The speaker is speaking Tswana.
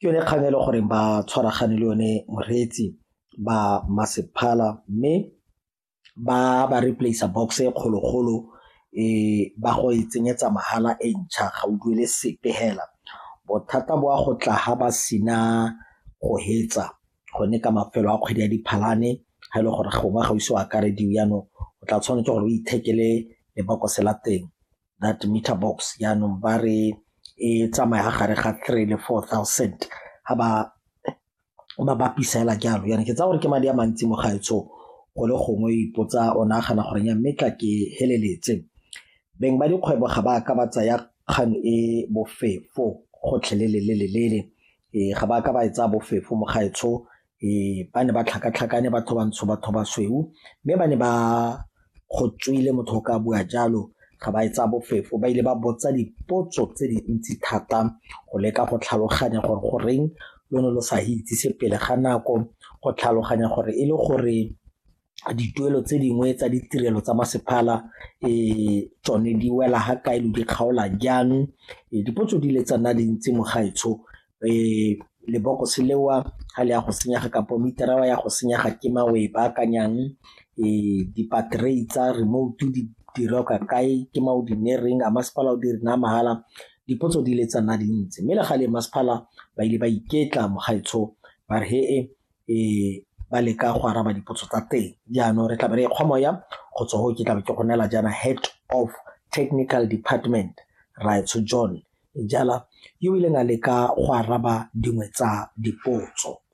Ke yone kgang e le goreng ba tshwaragane le yone moreetsi ba masepala mme ba ba replace-a box e kgologolo ba go e tsenyetsa mahala e ntšha ga o duele sepe fela. Bothata bo a go tla ga ba sena go hetsa gone ka mafelo a kgwedi ya Diphalane ga e le gore gongwe ga o ise o akarediwe jaanong o tla tshwanetse gore o ithekele lebokose la teng that meter box, jaanong ba re e tsamaya gare ga 3 le 4,000 ga ba ba bapisa fela jalo. Jaanong ke tsaya gore ke madi a mantsi mo gaetsho go le gongwe o ipotsa o nagana gore mme tla ke feleletse. Beng ba dikgwebo ga ba ka ba tsaya kgang e bofefo gotlhelele-lele-lele, ga ba ka ba e tsaya bofefo mo gaetsho ba ne ba tlhakatlhakane batho bantsho batho basweu mme ba ne ba go tswile motho o ka bua jalo ga ba e tsaya bofefo ba ile ba botsa dipotso tse dintsi thata go leka go tlhaloganya gore goreng lone lo sa itsise pele ga nako, go tlhaloganya gore e le gore dituelo tse dingwe tsa ditirelo tsa masepala tsone di wela ga kae lo di kgaola jang, dipotso di ile tsa nna dintsi mo gaetsho lebokose leo ga le ya go senyega kapo meter-ra ya go senyega ke mang o e baakanyang, di-battery tsa remote di dirwa kae, ke mang o di a masepala o di re naya mahala, dipotso di ile tsa nna dintsi. Mme le gale masepala ba ile ba iketla mo gaetsho ba re ba leka go araba dipotso tsa teng. Jaanong re tlabe re kgwa moya go tswa foo ke tlabe ke go neela jaana head of technical department rraetsho John jala yo o ileng a leka go araba dingwe tsa dipotso.